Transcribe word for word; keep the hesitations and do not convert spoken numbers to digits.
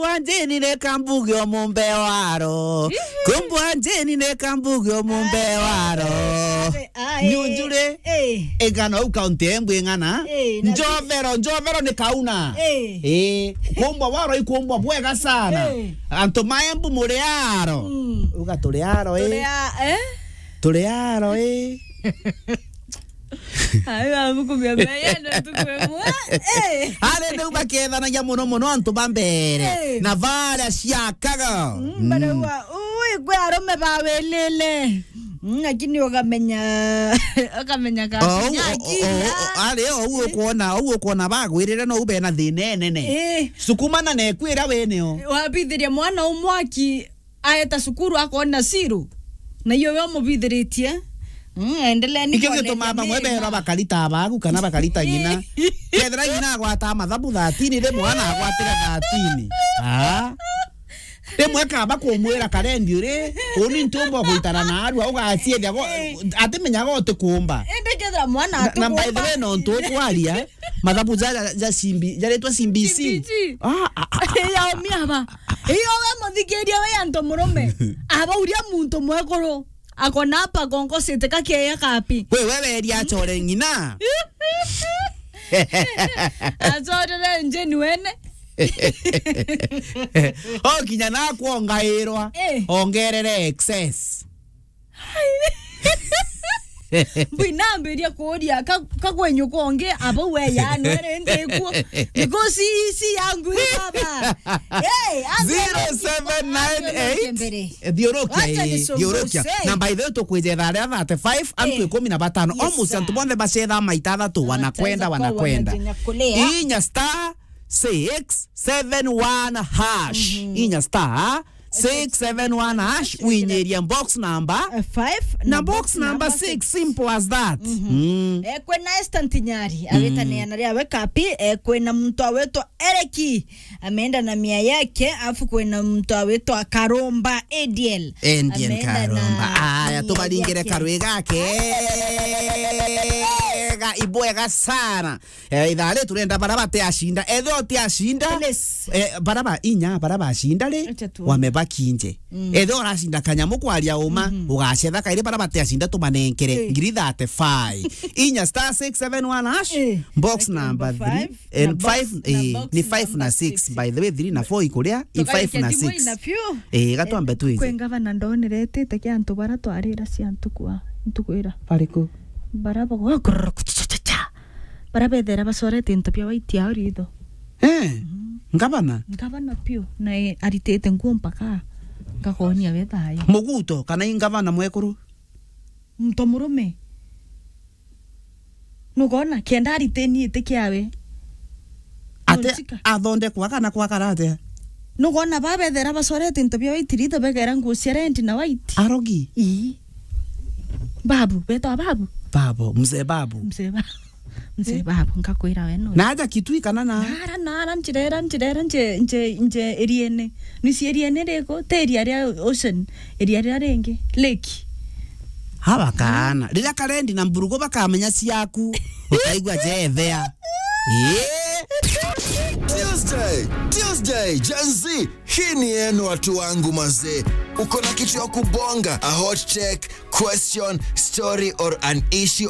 Kumbwa njini ni kambuge o mumbe waro. Ihi. Kumbwa njini ni kambuge o mumbe waro. Ai, ai. Nyunjure. Eh. Igana u kaunti embu ing'ana. Eh, na njovero, njovero ni kauna. Eh. Eh. Kumbwa waro ikumbwa bwega sana. Eh. Antu ma Embu muri aro. Mm. Uga turi aro, eh. Turi a-, eh? Turi aro, eh. Ai, babu kumia mbeya ndo tukwe mwa. Eh. Ari riu bakethanagia muno muno antu ba mbere. Eh. Na baria ciakaga. Mm, mm. Baraua, ui, kwi arume bawilile. Mm, lakini ukamenya, ukamenya ka. Oh, kinya oh, oh, akili, oh, ah. Ari, ou ukuona, ou ukuona bagwirire no ube na thina enene. Eh. Sukumana na ekwira winio. Wabithiria mwana umwaki aeta cukuru akona zero. Na iyo we umubithiritie. Mm, endelea ni. Ikio kuoneria gituma bamwe mema. Berwa bakarita abagu kana bakarita ng'ina. Kethira ng'ina agwata mathabu thirteen, rimwe ana agwatira thirteen. Ah. Rimwe kaba kumwira karendi uri, uni ntumba gwitana na arua, ugaciethia go-, eh, atimenyaga utikumba. Indi kethira mwana na, na by the way, atikumba. Nontu ukwaria, mathabu ja, ja, ja C B, jaretwa C B C. C B C. Ah, ah, ah, ah. Ya umia ba. Iyo we muthikiria we antu murume. Aba uria muntu mwekuru. Akona apa konko siteka keya kapi. We, we weria achore ng'ina. Achorere njeni wene. O kinya na kuongairwa. Eh. Ongerere excess. Mbwinambiria kuria ka-, kagwenyu kongi, aba we yanwere ndikuo. Because hii si yangu hii baba. Hey, anze zero seven nine eight. Anze mbere. Thiurukia. Wacha ii, nisumbuke. Thiurukia. Na by the way, tukwijetha aria thirty-five, antu, eh, ikumi na batano. Yes, almost sir. Antu bonthe bacetha maita athatu, wanakwenda, wanakwenda. Wanajinyakulia. Inya star six seven one hash. Mhm. Inya star six seven one hash, winyiria box number, eh, five na box number six. Simple as that. Mhm. Mm. Eh, kwina Esther Ntinyari, mm, awitania na ria we kapi, eh, kwina muntu awitwa Ereki, ameenda na mia yake, afu kwina muntu awitwa Karomba Ediel. Ediel ameenda na Karomba. Aya, mia tubaringire yake. Karwi gake. Ga, ibwega sana. Eh, ithaa ri turenda bara batiacinda. Ethira utiacinda, please, eh, bara ba inya, bara bacinda ri, acha tu, wamebaki nje. Mm. Ethira uracinda kanyamu kwaria uma, mhm, ugacetha kairi bara batiacinda tumanenkere, eh, ngiri thirty-five. Inya star six seven one hash, eh, box number three, eh, na box, five, na eh, box ni five na number six. By the way, three na four ikuria, i five na six. Tugaike thimu ina few. Eh, gatwambe, eh, twije. Kwi ngavana ndonire etite kia antu bara twarira cia ntuku a, ntuku ira. Bariku? Bara bago-, bara bethera bacorete into bia white ao ritho. Eh, mhm, ngavana? Ngavana piu, na e, aritite nguo mpaka ngakonia we thayo. Muguto, kana i ngavana mwekuru? Muntu murume. Nukona, kenda ariteni iti kiawe. Ate athondekwa kana kwakara atia? Nukona babethera bacorete into bia white ritho, begera nguo cia red na white. Arogi? Ii. Babu, betwa babu? Babu, mzee babu. Mzee babu. Mzee babu, nkakwira we no. Na aja Kitui kana na? Nara, nara, njirera, njirera, nje, nje, nje, iriene. Nisi iriene riko, te iria ria ocean, iria ria ringi, lake. Hawa kaana. Riria karendi na mburugu bakamenya ciaku, ukaigua jethea. Ii. Tuesday, Tuesday, Gen Z. Hii ni yenu watu wangu mazee. Uko na kitu ya kubonga, a hot take, question, story or an issue